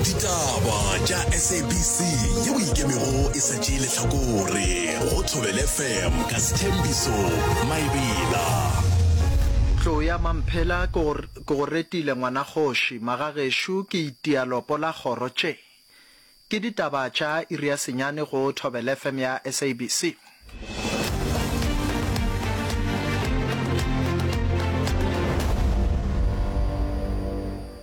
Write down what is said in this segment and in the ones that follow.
Ditaba tša SABC yeo e ikemego e sa tšee lehlakore go Thobela FM ka Sthembiso Maebela. Tlou ya Mamphela ke go ke go retile ngwanakgoši, magagešo ke itia lopo la kgoro tše. Ke ditaba tša iri ya senyane go Thobela FM ya SABC.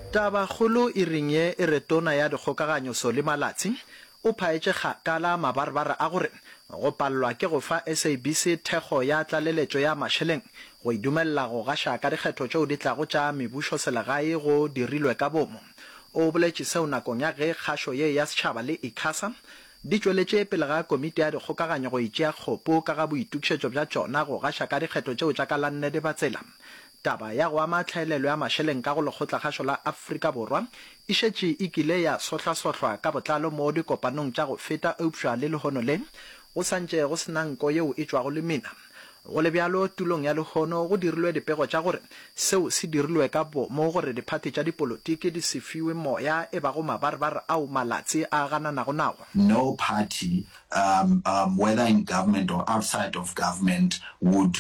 Tabakgolo iring ye e re Tona ya Dikgokaganyo Solly Malatsi o phaetše kgakala mabarebare a gore go palelwa ke go fa SABC thekgo ya tlaleletšo ya mašeleng go e dumelela go gaša ka dikgetho tšeo di tlago tša mebušoselegae go dirilwe ka bomo. O boletše seo nakong ya ge kgašo ye ya setšhaba le ICASA di tšweletše pele ga komiti ya dikgokaganyo go itšea kgopo ka ga boitokišetšo bja tšona go gaša ka dikgetho tšeo tša ka la nne Dibatsela. Taba ya go ama tlhaelelo ya mašeleng ka go Lekgotlakgašo la Afrika Borwa e šetše e kile ya sohlasohlwa ka botlalo mo dikopanong tša go feta eupša le lehono le go sa ntše go se na nko yeo e tšwago lemina. Go le bjalo, tulong ya lehono go dirilwe dipego tša gore seo se dirilwe ka boomo gore diphathi tša dipolotiki di se fiwe moya e bago mabarebare ao Malatsi a gananago nawo. No party, um, um, whether in government or outside of government, would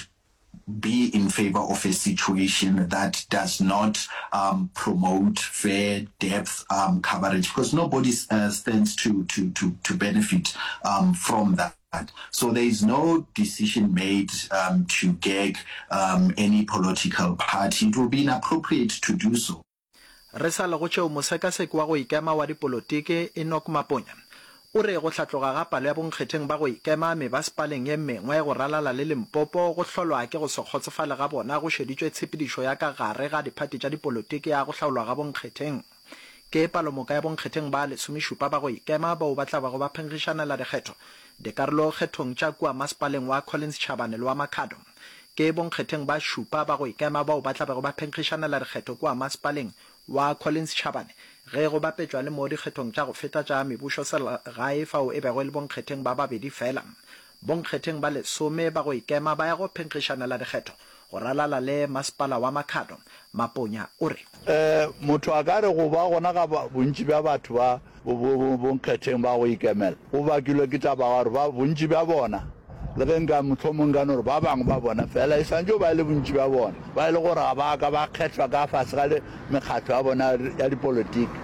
be in favor of a situation that does not um, promote fair depth um, coverage because nobody uh, stands to, to, to, to benefit um, from that. So there is no decision made um, to gag um, any political party. It will be inappropriate to do so. Re sa le go tšeo, mosekaseki wa go ikema wa dipolotiki, Enoch Maponya, o re go hlatloga ga palo ya bonkgetheng ba go ikema mebasepaleng ye mengwe go ralala le Limpopo go hlolwa ke go se kgotsofale ga bona go šeditšwe tshepedišo ya ka gare ga diphathi tša dipolotiki ya go hlaolwa ga bonkgetheng. Ke palomoka ya bonkgetheng ba lesomešupa ba go ikema bao ba tla bago ba phenkgišanela dikgetho dikarolokgethong tša kua masepaleng wa Collins Chabane le wa Makhado. Ke bonkgetheng ba šupa ba go ikema bao ba tla bego ba phenkgišanela dikgetho kua masepaleng wa Collins Chabane ge go bapetšwa le mo dikgethong tša go feta tša mebušoselegae fao e bego e le bonkgetheng ba babedi fela. Bonkgetheng ba lesome ba go ikema ba ya go phenkgišanela dikgetho go ralala le masepala wa Makhado, Maponya o re. Motho a ka re go ba gona ga bontši bja batho ba bonkgetheng ba go ikemela go bakilwe ke taba ya gore ba bontši bja bona, le ge nka mohlomong nka no re ba bangwe ba bona fela, e swanetše go ba e le bontši bja bona, ba e le gore ga ba ka ba kgethwa ka fase ga mekgatlo ya bona ya dipolotiki,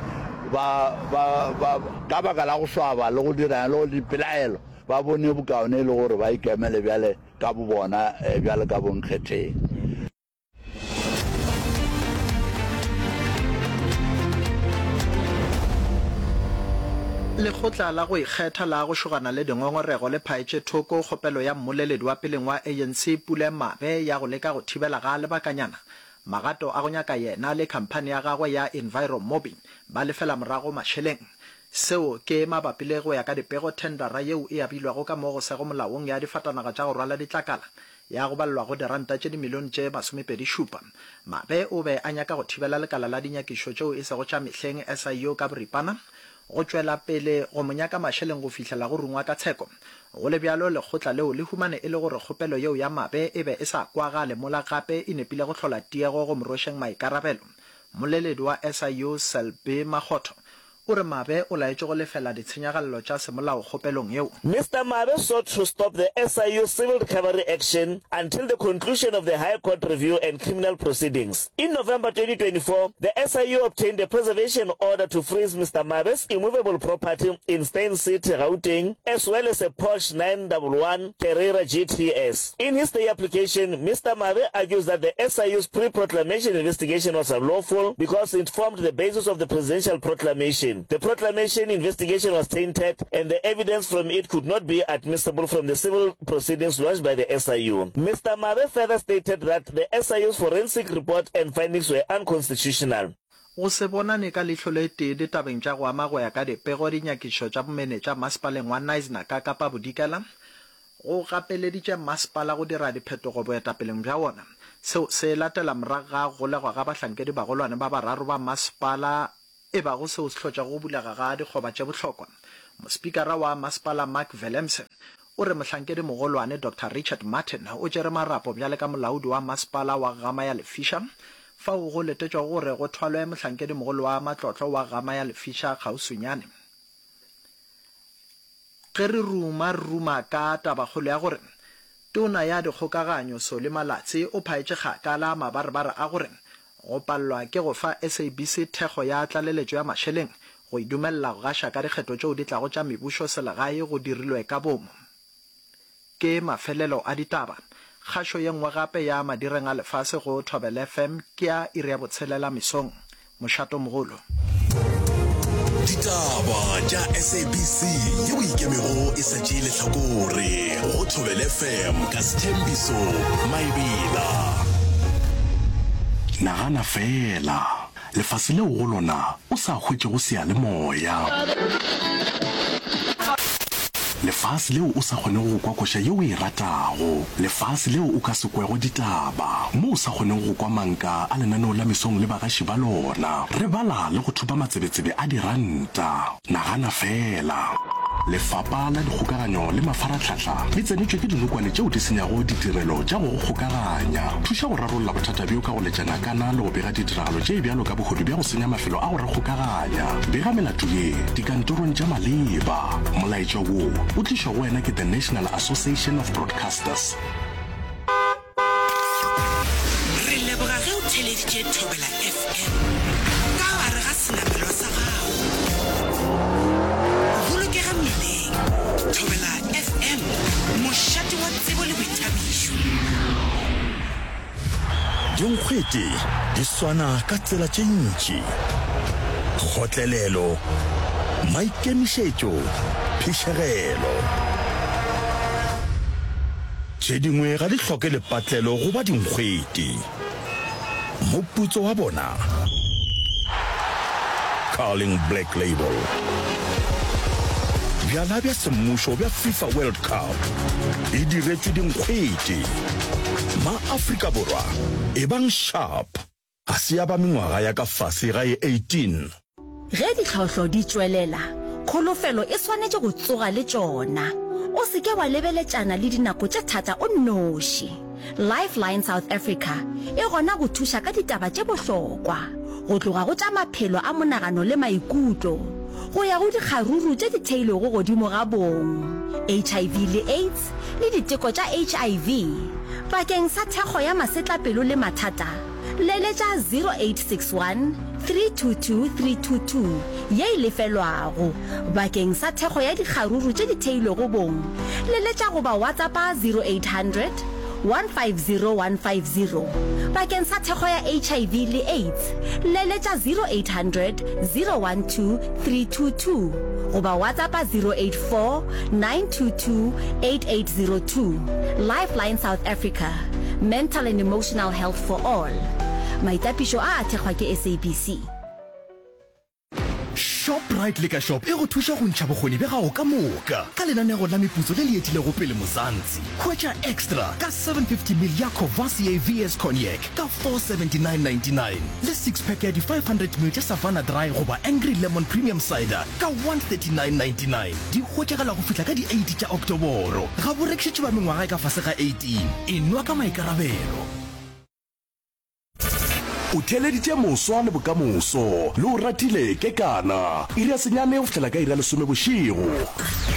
ba, ba, ba, ka baka la go swaba le go dirang le go dipelaelo, ba bone bokaone e le gore ba ikemele bjale ka bobona bjalo ka bonkgetheng. Lekgotla la go ikgetha la go šogana le dingongorego le phaetše thoko kgopelo ya mmoleledi wa peleng wa ANC Pule Mabe ya go leka go thibela ga lebakanyana magato a go nyaka yena le khamphani ya gagwe ya Enviromobi ba lefela morago mašeleng. Seo ke mabapi le go ya ka dipego thendara yeo e abilwego ka mo go sego molaong ya difatanaga tša go rwala ditlakala ya go balelwa go diranta tše dimilione tše masomepedi-šupa. Mabe o be a nyaka go thibela lekala la dinyakišo tšeo e sego tša mehleng, SIU, ka boripana, go tšwela pele go mo nyaka mašeleng go fihlela go rungwa ka tsheko. Go le bjalo, lekgotla leo le humane e le gore kgopelo yeo ya Mabe e be e sa kwagale mola gape e nepile go hlola tiego go mo rwešeng maikarabelo. Mmoleledi wa SIU, Selby Makgotho, O re Mabe o laetšwe go lefela ditshenyagalelo tša semolao kgopelong yeo. Mister Mabe sought to stop the SIU civil recovery action until the conclusion of the High Court review and criminal proceedings. In November 2024, the SIU obtained a preservation order to freeze Mister Mabe's immovable property in Steyn City, Gauteng, as well as a Porsche 911 Carrera GTS. In his stay application, Mister Mabe argues that the SIU's pre-proclamation investigation was unlawful because it formed the basis of the presidential proclamation. The proclamation investigation was tainted and the evidence from it could not be admissible from the civil proceedings launched by the SIU. Mister Mabe further stated that the SIU's forensic report and findings were unconstitutional. Go se bonane ka leihlo le tee ditabeng tša go ama go ya ka dipego dinyakišišo tša bomenetša masepaleng wa Knysna ka Kapa Bodikela go gapeleditše masepala go dira diphetogo boetapeleng bja wona. Seo se latela morago ga go golegwa ga bahlankedibagolwane ba bararo ba masepala e bago seo se hlotšego go bulega ga dikgoba tše bohlokwa. Mospikara wa masepala Mark Willemse o re mohlankedimogolwane Doctor Richard Martin o tšere marapo bjale ka molaodi wa masepala wa Gama ya Lefisha. fao go letetšwago gore go thwalwe mohlankedimogolo wa matlotlo wa Gama ya Lefiša kgauswinyane. Ge re ruma re ruma ka tabakgolo ya gore Tona ya Dikgokaganyo Solly Malatsi o phaetše kgakala mabarebare a gore go palelwa ke go fa SABC thekgo ya tlaleletšo ya mašeleng go e dumelela go gaša ka dikgetho tšeo di tlago tša mebušo selegae go dirilwe ka boomo. Ke mafelelo a ditaba. Kgašo ye nngwe gape ya madireng a lefase go Thobela FM ke ya iri ya botshelela mesong. Mošatomogolo. Ditaba tša SABC yeo e ikemego e sa tšee lehlakore go Thobela FM ka Sthembiso Maebela. Nagana feela, lefase leo go lona o sa hwetšego seyalemoya. Lefase leo o sa kgonego go kwa koša ye o e ratago. Lefase leo o ka se kwego ditaba, mo o sa kgonego go kwa manka a lenaneo la mesong le bagaši ba lona. Re bala le go thopa matsebetsebe a diranta. Nagana feela. Lefapa la Dikgokaganyo le Mafarahlahla le tsenetšwe ke dinokwane tšeo di senyago ditirelo tša go go kgokaganya. Thuša go rarolla bothata bjo ka go letša nakana le go bega ditiragalo tše bjalo ka bohodu bja go senya mafelo a go re kgokaganya. Bega melato ye dikantorong tša maleba. Molaetša wo o tlišwa go wena ke The National Association of Broadcasters. Re leboga ge o theleditše Thobela FM ka gare ga senamelwa sa gago. Bolokega mmileng. Thobela FM, mošate wa tsebo le boithabišo. Dinkgwete di swana ka tsela tše ntši, kgotlelelo, maikemišetšo, phišegelo. Tše dingwe ga di hloke lepatlelo go ba dinkgwete. Moputso wa bona? Carling Black Label. Bjala bja semmušo bja FIFA World Cup e diretšwe dinkgwete. Ma-Afrika Borwa, ebang sharp! Ga se ya ba mengwaga ya ka fase ga ye 18. Ge ditlhohlo di tšwelela, kholofelo e swanetše go tsoga le tšona. O se ke wa lebeletšana le dinako tše thata o nnoši. Lifeline South Africa e gona go thuša ka ditaba tše bohlokwa, go tloga go tša maphelo a monagano le maikutlo, go ya go dikgaruru tše di theilwego godimo ga bong, HIV le AIDS, le diteko tša HIV. Bakeng sa thekgo ya masetlapelo le mathata, Leletša 0861 322 322 ye e lefelwago. Bakeng sa thekgo ya dikgaruru tše di theilwego bong, leletša goba WhatsAppa 0800 150 150. Bakeng sa thekgo ya HIV le AIDS, leletša 0800 012 322 goba WhatsAppa 084 922 8802. Lifeline South Africa. Mental and Emotional Health for All. Maitapišo a a thekgwa ke SABC. Shoprite Liquor Shop e go thuša go ntšha bokgoni bja gago ka moka ka lenanego la meputso le le etilego pele Mzansi. Hwetša Extra ka 750 ml ya Courvoisier VS Cognac ka 479.99 le six pack ya di 500 ml tša Savanna Dry goba Angry Lemon Premium Cider ka 139.99. Di hwetšagala go fihla ka di 8 tša Oktoboro. Ga bo rekišetšwe ba mengwaga e ka fase ga 18. Enwa ka maikarabelo. O theeleditše Moswa le Bokamoso le o ratile Kekana. Iri ya senyane go fihlela ka iri ya lesome bošego.